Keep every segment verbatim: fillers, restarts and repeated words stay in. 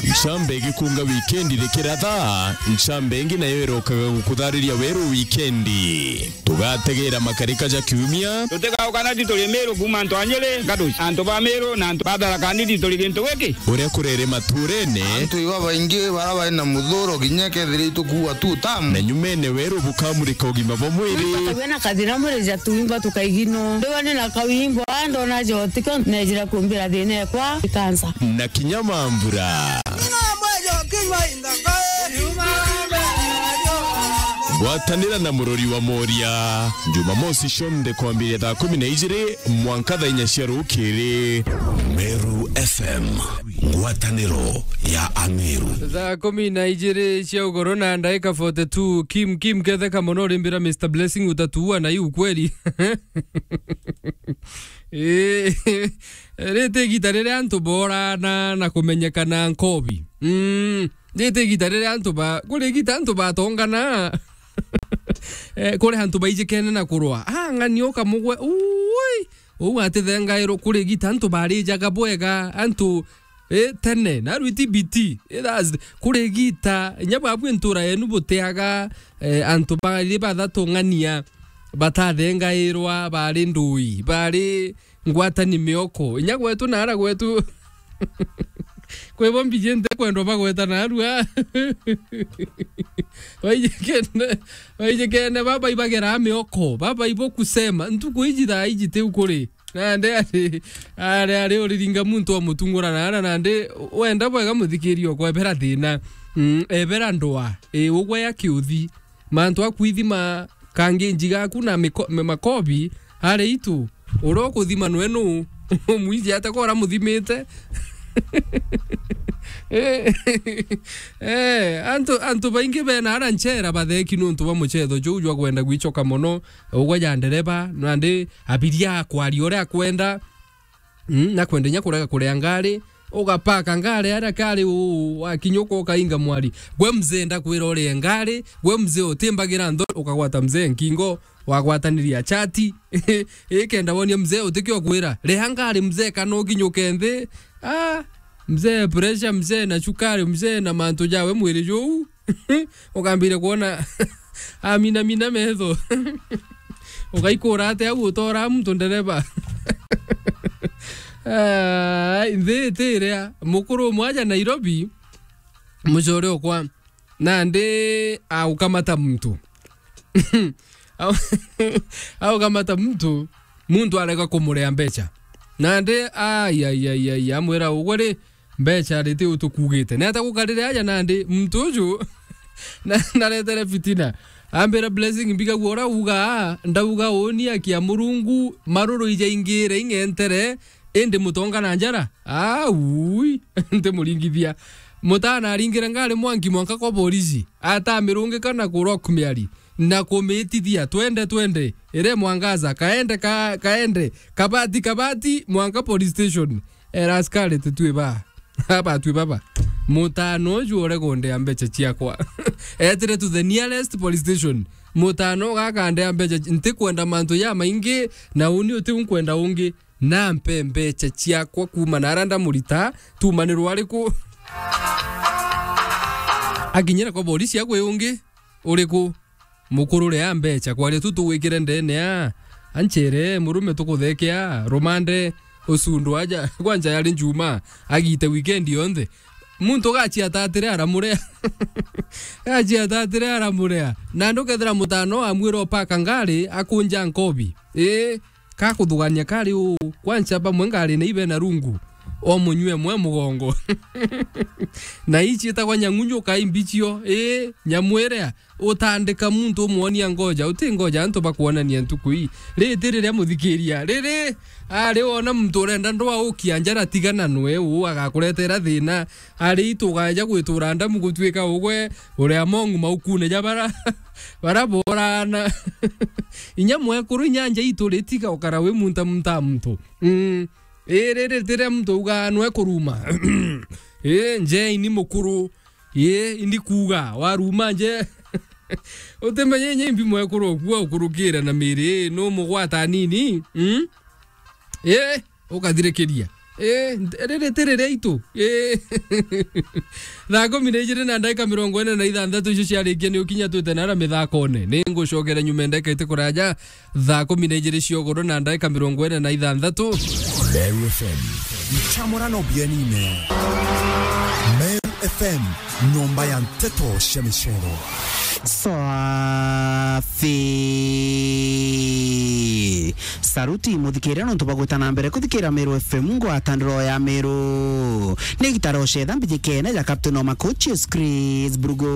Ncambe igikunga wikendi rikiratha, ncambe ingi nayo irokaga gukuthariria weru wikendi. Tugategera makarika ja kiumia. Tutigaukana ti turi Miru kuuma antu a Nyeri, Gaduci, antu ba Miru na antu ba Tharaka Nithi turi gintu giki. Uria kurere maturene. Antu iba baingi bara bari na muthuro kinya kethira itukuua tu tamu. Na nyumene weru bukamurika ugima bwa mwiri. Twina kathina mwiri ja tuimba tukaigino. Ndiwa ni na kawimbo, ndona jotiko, nejira kumbira thina ekwa, ikansa. Na kinya mambura. Gwatanira na murori wa Moria. Jumamosi cionthe kwambiria thaa kumi na ijiri mwanka thaa inya cia rukiri. Meru F M, ngwataniro ya Ameru. Thaa kumi na ijiri cia ugoro na ndaika forty two, Kim Kim, ketheka mono rimbira Mister Blessing, utatuua na hii ukweli. Ii, riti igita riria antu boorana na kumenyekana nkobi. Mm, riti igita riria antu ba-, kuri igita antu batongana. Eh, kuri antu baijikene na kurwa. Ah, ng'ani ukamugwe, ui, uu atithengairwo. Kuri igita antu barijaga bwega, antu, eh, tene, na rwiti biti. Eh, that's, kuri igita, inya bwabwi ntura yenu buteaga, eh, antu bari bathatu ng'ania. Batathengairwa, bari ndui, bari ngwatani mioko. Inya gwetu na ara gwetu. Kwi bo mbiji nte kwendwa bagweta narua. Baijikene, baijikene, baba ibagera mioko, baba ibo kusema. Ntuku iji thaa iji tiu kuri. Nande ari, ari, ari uriringa muntu wa mutungura na ara nande wenda bwega muthikiria okwa ebera thina. Mm, ebera ndwa. E, ugwe ya kiuthi. Mantu a kwithima kangi njigaku na miko-, ma-, makobi, ari itu, uria ukuthima nwe nu? Umwiji ate kora muthimite? Eh, eh, antu, antu baingi bena ara nchera batheki nuntu bwa muchetho juu jwa kwenda gwichoka mono, ugwe ja ndereba, nandi abiria akwaria uria akwenda. Mm, na kwenda inya kurega kuria ngari, ugapaka ngari aria kari u-, wakinya ukoka inga mwari. Gwe mzee ndakwira urie ngari, gwe mzee utimbagira ntho, ukagwata mzee nkingo, wagwataniria chati. Ikenda wonia mzee utikio kwira, "Riha ngari mzee kana ukinyuke nthi." Ah, mzee pressure, mzee na chukari, mzee na mantu jawe mwiri juu. Ukambire kwona aminamina metho. Ugaikura ate au utora muntu ndereba? Ah, nthi itiria. Mukuru umwe aja Nairobi, mucore okwa, nandi aukamata muntu. Au-, aukamata muntu, muntu arega kumurea mbecha. Nandi, ai, ai, ai, ai, amwira, "Ugwe ri, mbecha riti utukugite." Neta gukarire aja nandi, muntu uju na-, naretere fitina. Ambira, "Blessing, mbigagua uria ugaa, ndauga uuni akia Murungu, maruru ijaingire ing'entere, indi mutonga na njara? Aui, ntimuringithia." Mutana aringire ngari mwanki mwanka kwa borisi, atamirungika na ku Rock Miari, na kumitithia, "Twende, twende, ire mwangaza, kaende, ka-, kaende, kabati, kabati, mwanka police station." Era askari, "Titwi ba, abatwi baba. Mutano uju ure kundea mbecha ciakwa." Etire to the nearest police station. "Mutano ugakandea mbecha, ntikwenda mantu ya maingi, na uni uti unkwenda ungi. Nampe mbecha ciakwa kuuma na ara ndamurita, tumanirwa ariku?" Akinyira kwa borisi, "Agwe ungi uriku?" Mukuru ria mbecha, kwaria tu tugwikire ndene a, anchere, murume tukuthekea, rumande, usundu aja, kwanja yari njuma, agite weekend yonthe. Muntu gachiatatire aramurea. Gachiatatire aramurea. Na ndukethira mutano amwira upaka ngari, akunja nkobi. Ii, kakuthugania kari u, kwanja bamwe ngari na ibe na rungu. O munywe mwe mugongo. Na ichi itagwa nyang'unyu kai mbichio, ii, nyamu iria. Utandika muntu umwonia ngoja, uti ngoja antu bakwonania ntuku ii. Riti riria muthikiria, riri, ari wona muntu urenda ndwa ukia njara, tigana nwe u agakuretera thina. Ari itu ugaja gwitura ndamu gutuika ugwe uri among maukune ja bara, bara borana. Inya mwekuru inya nja itu ritiga ukara wi munta munta muntu. Mm. Ii, riri riria muntu ugaa nwe kuruma. Ii, nje ini mukuru. Ii, indi kuuga, waruma nje. Utimenye nye imbi mwekuru okua ukurukire na miri, ii, numugwata nini? Mm? Ii, ukathirikiria. Eh, nte-, riri ti riria itu. Eh. Thaa kumi na ijiri na ndagika mirongo ina na ithanthatu icio ciarikia ni ukinya twite nara mithakone. Ni ngucokera nyuma ndagika iti kuraja. Thaa kumi na ijiri cia ugoro na ndagika mirongo ina na ithanthatu. Meru F M. Nchamurano bienine. Meru F M, nyomba ya nteto cia micero. Safi. Saruti muthikiria nontu bwa gwita na mbere kuthikira Meru F M, ngwataniro ya Meru. Ni gitaro cetha mbijikene ja Captain wa Makochi, Chris Brugo.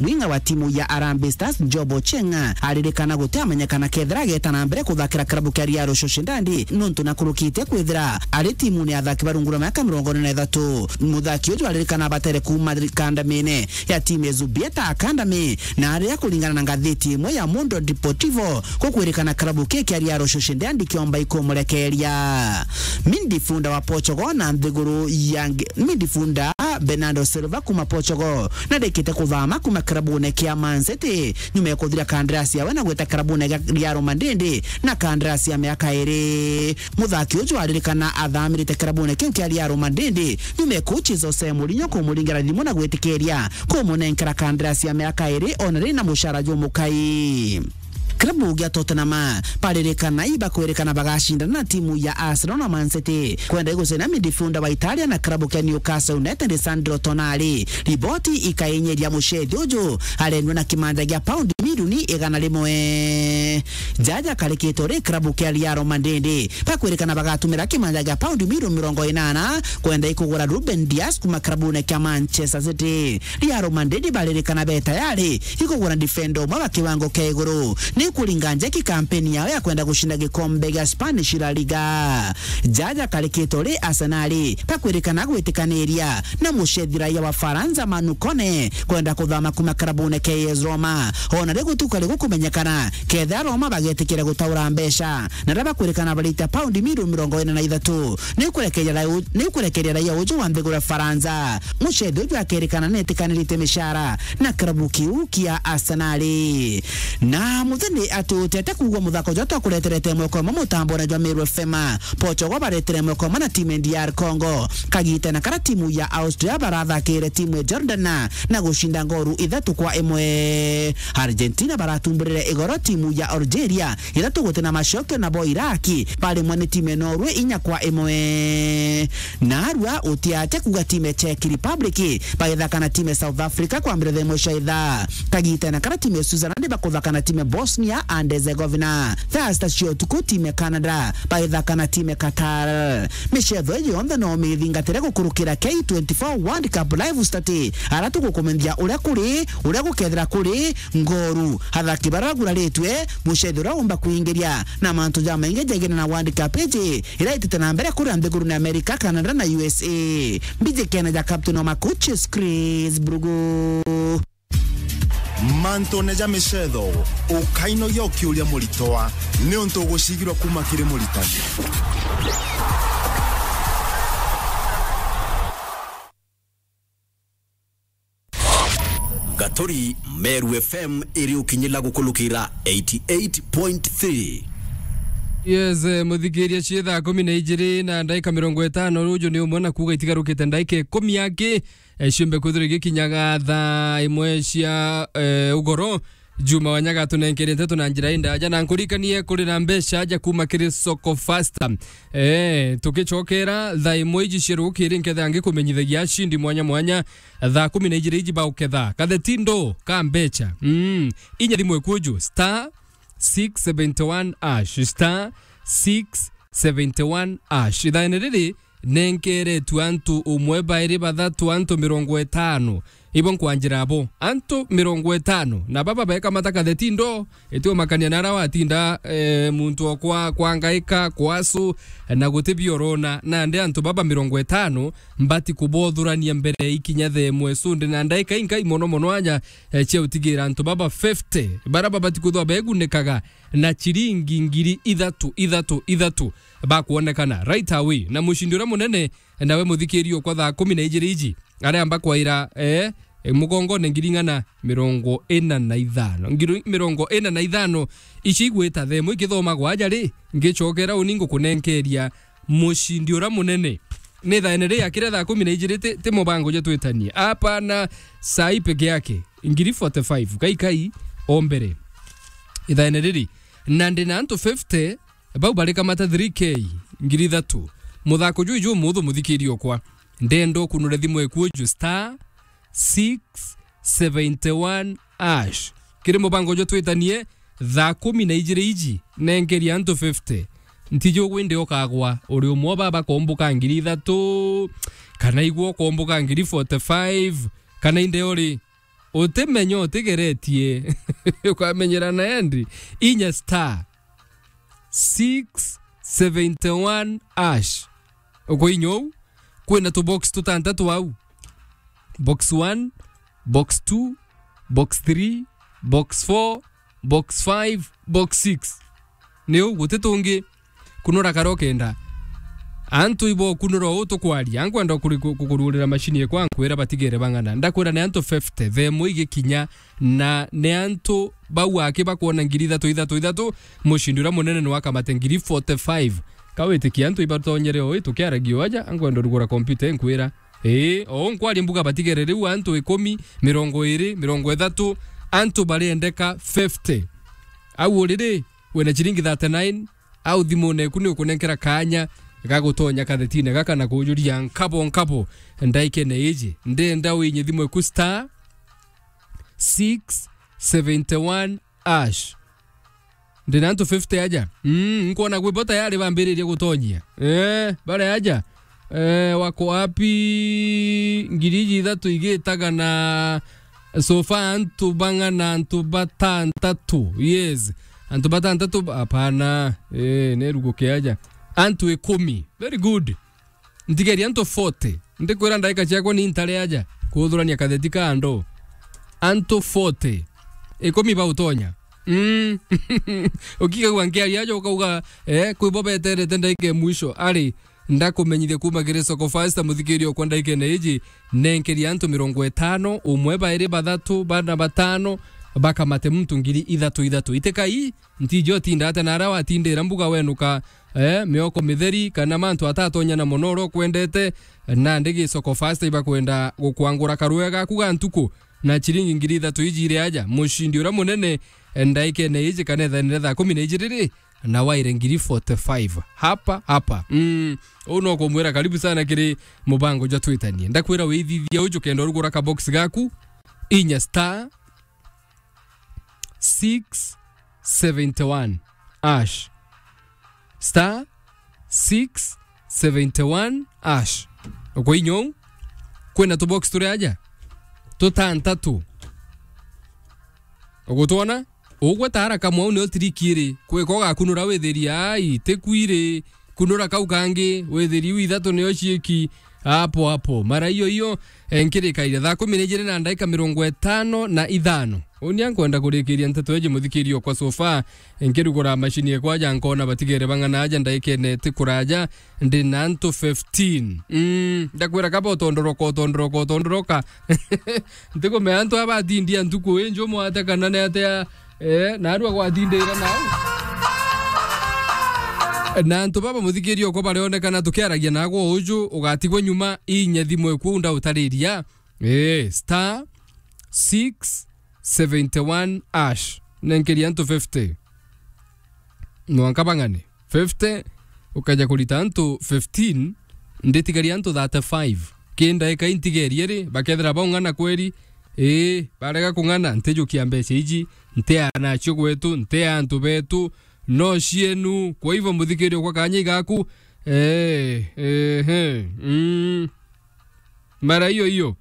Winga wa timu ya Harambee Stars, Job Ochieng, aririkana guti amenyekana kethira ageta na mbere kuthakira kirabu kia Real Sociedad, nontu na kurukite kwithira ari timune ya athaki barungura miaka mirongo ina na ithatu. Muthaki uju aririkana abatere kuuma kandamine ya timu ya Zubieta Academy, na aria kuringana na ngathiti imwe ya Mundo Deportivo, gukwirikana kirabu kii kia Real Sociedad kiomba ikumurekeria. Midfielder wa Portugal na nthiguru ya nge-, midfielder Bernardo Silva kuma Portugal, narikite kuthama kuma kirabune kia Man City, nyuma ya kuthira kandarasi yawe na gwita kirabune gia Real Madrid na kandarasi ya miaka iri. Muthaki uju aririkana athamirite kirabune kiu kia Real Madrid, nyuma ya coach Jose Mourinho kumuringira thimu na gwitikiria kumunenkera kandarasi ya miaka iri, ona riri na mucara jumukai. Klabu gia Tottenham baririkana ibakwirikana bagacindana na timu ya Arsenal na Man City kwenda igucina midfielder wa Italia na klabu kia Newcastle United, Sandro Tonali. Riboti ikainyiria mucethi uju arendwa na kimanja gia paundi milioni igana rimwe. Jaja karikitwe ri klabu kia Real Madrid bakwirikana bagatumira kimanja gia paundi milioni mirongo inana kwenda ikugura Ruben Dias kuma klabune kia Manchester City. Real Madrid baririkana be tayari ikugura defender umwe wa kiwango kia iguru ni kuringa njeki kampeni yao ya kwenda gucinda gikombe gia Spanish La Liga. Jaja karikitwe ri Arsenal bakwirikana gwitikaniria na mucethi raia wa Faransa Manu Kone kwenda kuthama kuma klabune kia A S Roma. Ona ri gutuka ri gukumenyekana kethira Roma bagetikira gutaura mbeca na ria bakwirikana barita paundi milioni mirongo ina na ithatu. Ni kurekeria rai-, ni kurekeria raia uju wa nthiguru ya Faransa. Mucethi uju akerikana netikanirite micara na klabu kiu kia Arsenal. Na muthenya ati utete kuugwa muthako jwa twakureterete mweko umwe mutambone jwa Meru F M. Portugal baretere mweko umwe na timu ya D R Congo. Kagite na kara timu ya Austria barathakire timu ya Jordan na, na gucinda ngoru ithatu kwa imwe. Argentina baratumburire igoro timu ya Algeria ithatu guti na macokio, nabo Iraki barimwe ni timu ya Norway inya kwa imwe. Narua utiate kuga timu ya Czech Republic bagithaka na timu ya South Africa kwambira thaa imwe cia ithaa. Kagita na kara timu ya Switzerland bakuthaka na timu ya Bosnia and Herzegovina. Thaa sita cia utuku timu ya Canada bagithaka na timu ya Qatar. Micetho iji yonthe no mithingatire gukurukira K twenty-four World Cup live stat, ara tugukumenyithia uria kuri, uria gukethira kuri, ngoru, athaki baria baguraritwe, mucethi uria umba kuingiria, na mantu jamaingi jegene na World Cup iji iria itite na mbere kuria nthigurune America, Canada na U S A. Mbijikene ja captain wa Makuchis, Chris Brugo. Mantune ja micetho, ukainogia ukiuria muritwa, niuntu ugucigirwa kuma kiri muritani. Gaturi, Meru F M iri ukinyila gukulukira eighty-eight point three. Yes, eh, muthikiria, cie thaa kumi na ijiri na ndaika mirongo itano, ruju ni umwe na kuuga itigarukite ndaika ikumi aki, eh, ciumbe kwithirwa igikinyaga thaa imwe cia, eh, ugoro. Juma Wanyaga atunenkere nteto na njira indaja, na nkurikanie kuri na mbeca aja kuma kiri Soko Fasta. Eh, tukicokera thaa imwe iji cia rukiri, nketha ngikumenyithagia acindi mwanya mwanya thaa kumi na ijiri iji bauketha kathetindo ka mbeca. Mm, inya thimu ikuju, star six seventy one hash, star six seventy one hash. Ithaene riri nenkeretwe antu umwe, bairi, bathatu, antu mirongo itano. Ibo nkwanjira abo, antu mirongo itano, na baba bekamata kathetindo, itiumakania nara watinda, eh, muntu okwa kwangaika, kwasu, na guti biorona. Nandi antu baba mirongo itano mbati kubothurania mbere ikinya thaa imwe sundi, na ndaika inkai mono mono aja, eh, cia utigira antu baba fifty bara babati kwithwa begunikaga na ciringi ngiri ithatu, ithatu, ithatu, bakwonekana right away. Na mucindi uria munene nawe muthikiri okwa thaa kumi na ijiri iji, aria amba kwaira, eh, mugongone ngiri ing'ana mirongo ina na ithano. Ngiri mirongo ina na ithano ici igwita thaa imwe ikithomagwa aja ri, ngicokera uni ngukunenkeria mucindi uria munene. Ni thaene ri akire thaa kumi na ijiri ti, ti mubango jwa twitanie. Apana, sai peke yake. Ngiri forty-five. Kai kai, o mbere. Ithaene riri. Na ndi na antu fifty, bau barikamata three K, ngiri ithatu. Muthako juu juu muthu muthikiri okwa. Ndenda ukunure thimu eku uju star six seventy one hash. Kiri mubango jwa twitanie, thaa kumi na ijiri iji, nenkeria antu fifty. Ntiji ugwinde ukagwa, uri umwe baba komboka ngiri ithatu, kana igwe ukomboka ngiri forty-five, kana inde uri, utimenya utigeretie, ukamenyera na endi, inya star six seventy one hash. Ukoinya uu, kwina tubox tutantatu au. Box one, box two, box three, box four, box five, box six. Ni uu, guti tungi. Kunura karia ukenda. Antu ibo kunura uu tukwaria. Nkwenda kuri-, ku-, kukururira mashini ekwa nkwira batigere bang'ana. Ndakwira ni antu fifty, themo igikinya, na ni antu bau aki bakwona ngiri ithatu, ithatu, ithatu, mucindi uria munene ni wakamate ngiri forty-five. Kawitikia antu ibatonyere oi tukiaragia aja, nkwenda urugura kompyuta nkwira. Ii, o nkwaria mbuga batigere riu antu ikumi, mirongo iri, mirongo ithatu, antu bariendeka fifty. Au uriri, wina ciringi thirty-nine, au thimune eku ni ukunenkera kaanya ga gutonya kathetine gaka na kujuria nkabo nkabo ndaikene iji. Ndenda winye thimu eku star six seventy one hash. Ndina antu fifty aja. Mm, nkwona gwi bo tayari bambiririe gutonyia. Eh, bare aja. Eh, wako wapi? Ngiri iji ithatu igitaga na so far antu bang'ana, antu batantatu. Yes. Antu batantatu ba-, apana. Eh, neruguke aja. Antu ikumi. Very good. Ntigeria antu forty. Ndikwira ndaika ciakwa ni ntare aja kuthurania katheti ka andu. Antu forty. Ikumi bautonya. Mm. Ukigagua nkiaria aja ukauga, eh, kwi bo beterete ndaika ya mwisho. Ari, ndakumenyithia kuma kiri Soko Fasta, muthikiria okwa ndaikene iji, nenkeria antu mirongo itano, umwe, bairi, bathatu, bana, batano, bakamate muntu ngiri ithatu ithatu. Itikai, ntiji utinda ate na aria watindira mbuga wenuka, eh, mioko mitheri, kana mantu atatonya na mono uria ukwendete, nandi gi Soko Fasta ibakwenda gukwangura karue gaku ga ntuku na ciringi ngiri ithatu iji iri aja. Mucindi uria munene, eh, ndaikene iji kana ithaene ria thaa kumi na ijiri ri, na waire ngiri forty-five. Hapa, hapa. Mm, uu no kumwira karibu sana kiri mubango jwa twitanie. Ndakwira withithia uju kenda urugura ka box gaku, inya star six seventy one hash. Star six seventy one hash. Ukoinya uu, kwina tubox turi aja tutantatu. Ugutwona? Ugwe tara kamwe uu nio tiriki iri. Kwika ugakunura withirie, ai, tikwiri. Kunura kau kangi, withirie iu ithatu nio ciiki. Hapo hapo. Mara iyo iyo, eh, nkirikaire thaa kumi na ijiri na ndaika mirongo itano na ithano. Uni ankwenda kurikiria nteto eji muthikirio kwa sofa. Nkirugura mashini ekwa aja nkona batigere bang'ana aja ndaikene ti kuraja. Ndi na antu fifteen. Mm, ndakwira kaba utondoroka, utondoroka, utondoroka. Ntikumenya antu aba atindia ntuku inju mwate kana ni atia, eh, narua gwatindira nau. Na antu baba muthikirio ko barionekana tukiaragia nago uju ugatigwa nyuma inya thimu eku ndautariria. Eh, star six seventy one hash. Nenkeria antu fifty. Mwanka bang'ane. Fifty, ukaja kurita antu fifteen, nditigaria antu thirty-five. Ki ndaika intigerie ri, bakethira baung'ana kweri, ii, barega kung'ana, ntijukia mbeca iji, ntiaa nacio gwetu, ntiaa antu betu, no cienu. Kwa hivyo, muthikirio kwa kanya igaku, ee, ehe, mm. Mara iyo iyo.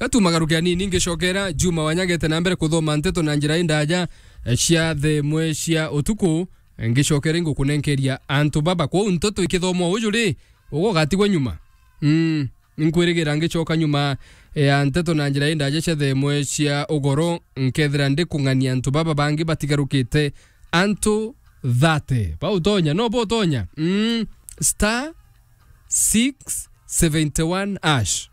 Gatumagaruke anini ngicokera, Juma wanyagete na mbere kuthoma nteto na njira indaja, eh, cia thaa imwe cia utuku, eh, ngicokera ingukunenkeria antu baba. Kwou nteto ikithomwa uju ri, ugo ugatigwa nyuma. Mm, nkwirigira ngicoka nyuma, eh, ya nteto na njira indaja cia thaa imwe cia ugoro, nkethira ndikung'ania antu baba bangi batigarukite antu thirty. Bautonya, no butonya? Mm, star six seventy one hash.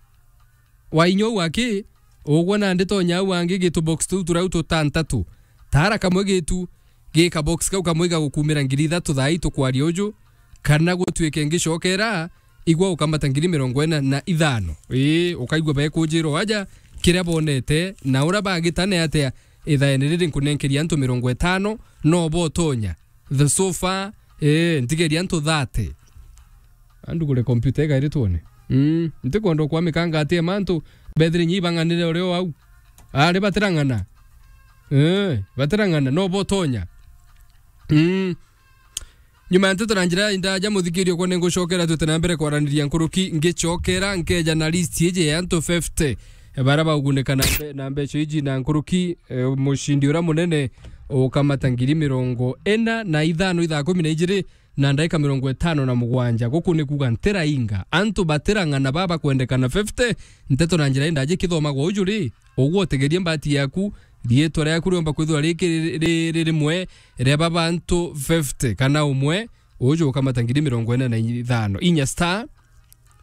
Wainya uu aki, ugwe nandi tonya au angi gitu box tuu turau tutantatu. Tara kamwe gitu, gika box kau kamwe igagukumira ngiri ithatu thaa ii tukwaria uju. kana gutwike ngicokera, igwa ukamata ngiri mirongo ina na ithano. Ii, ukaigua bekunjirwa aja kiria bonete, na uria bagitane atia ithaene riri nkunenkeria antu mirongo itano, no botonya. The sofa, ii, ntigeria antu thirty. Andugure kompyuta igairi twone. Mm, ntikwenda kwa mikanga atia mantu, bethire nyi bang'anire urio au. Ari batirang'ana. Ii, batirang'ana, no botonya. Mm. Nyuma ya nteto na njira indaja, muthikiria, kwa ningucokera, twite na mbere kwaraniria nkuruki, ngicokera nkeja na list iji ya antu fifty, e, bara baugunika na mbe-, na mbeca iji na nkuruki, e, mucindi uria munene ukamata ngiri mirongo ina na ithano ithaa kumi na ijiri na ndaika mirongo itano na mugwanja. Guku ni kuuga ntirainga. Antu batirang'ana baba kwendekana fifty, nteto na njira indaja ikithomagwa uju ri, ugwe utegerie mbati yaku, riitwa riaku riomba kwithirwa riki ri-, ri-, ri rimwe ria baba antu fifty, kana umwe uju ukamata ngiri mirongo ina na ithano. Inya star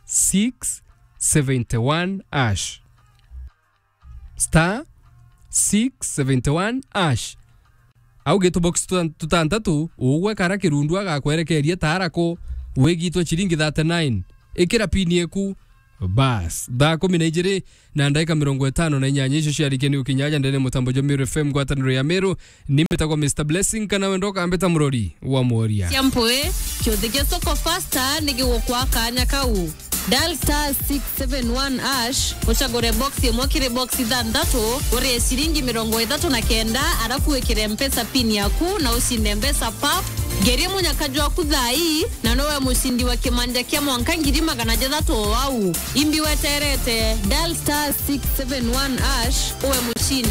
six seventy one hash. Star six seventy one hash. Au gitu box tuta-, tutantatu, ugwe kara kirundu agakwerekeria taarako, wigitwe chiringi thirty nine. Ikira pini eku, bas. Thaa kumi na ijiri na ndaika mirongo itano na inyanya icio ciarikia ni ukinya aja ndene mutambo jwa Meru F M, ngwataniro ya Meru. Ni mbitagwa Mister Blessing, kana wendo ukambita murori wa mworia. Cia mpui, kiuthi gia Soko Fasta ni gigukwa kanya kau. Dial star six seven one hash, ucagure box imwe kiri box ithanthatu, urie ciringi mirongo ithatu na kenda, arafu wikire Mpesa pin yaku na ucinde mbeca pap. Ngerie munyaka jwaku thaa ii, na nowe mucindi wa kimanja kia mwanka ngiri magana jathatu o au. Imbi weterete, dial star six seven one hash, uwe mucindi.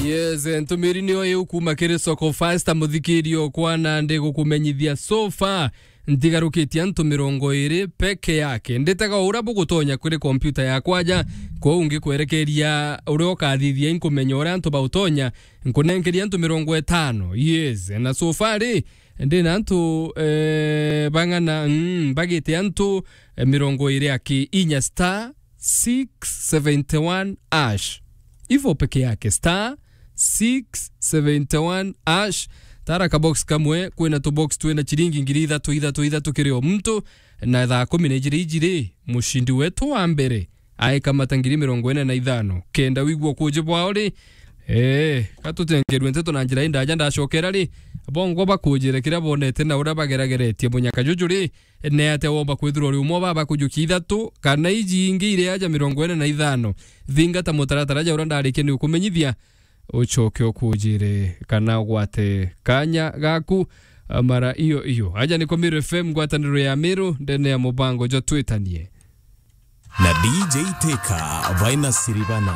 Yes, ntumiri niyo iu kuma kiri Soko Fasta, muthikirio kwa, na ndi gukumenyithia so far ntigarukitie antu mirongo iri peke yake. Nditega uria bugutonya kuri kompyuta yakwa aja, kwou ngikwerekeria uria ukathithia, inkumenya uria antu bautonya, nkunenkeria antu mirongo itano. Yes, na so far ri, ndina antu, eh, bang'ana, mm, bagite antu, eh, mirongo iri aki inya star six seventy one hash. Ivo peke yake, star six seventy one hash. Tara ka box kamwe, kwina tu box twina chiringi ngiri ithatu, ithatu, ithatu kiri o muntu, na thaa kumi na ijiri ijiri, mucindi wetu wa mbere aikamata ngiri mirongo ina na ithano. Kenda wigua kuji bwao ri, eh, gatutengerwe nteto na njira indaja ndacokera ri, bongwa bakujire kiria bonete na uria bagerageretie munyaka juju ri, ne atia womba kwithirwa uri umwe baba kujukia ithatu, kana iji ingi iri aja mirongo ina na ithano. Thingata mutaratara ja uria ndarikia ni ukumenyithia, ucoke ukujire kana ugwate kanya gaku, a, mara iyo iyo. Aja niko Meru F M, ngwataniro ya Meru, ndene ya mubango jwa Twitanie. Na D J Teka, Vaina Siribana.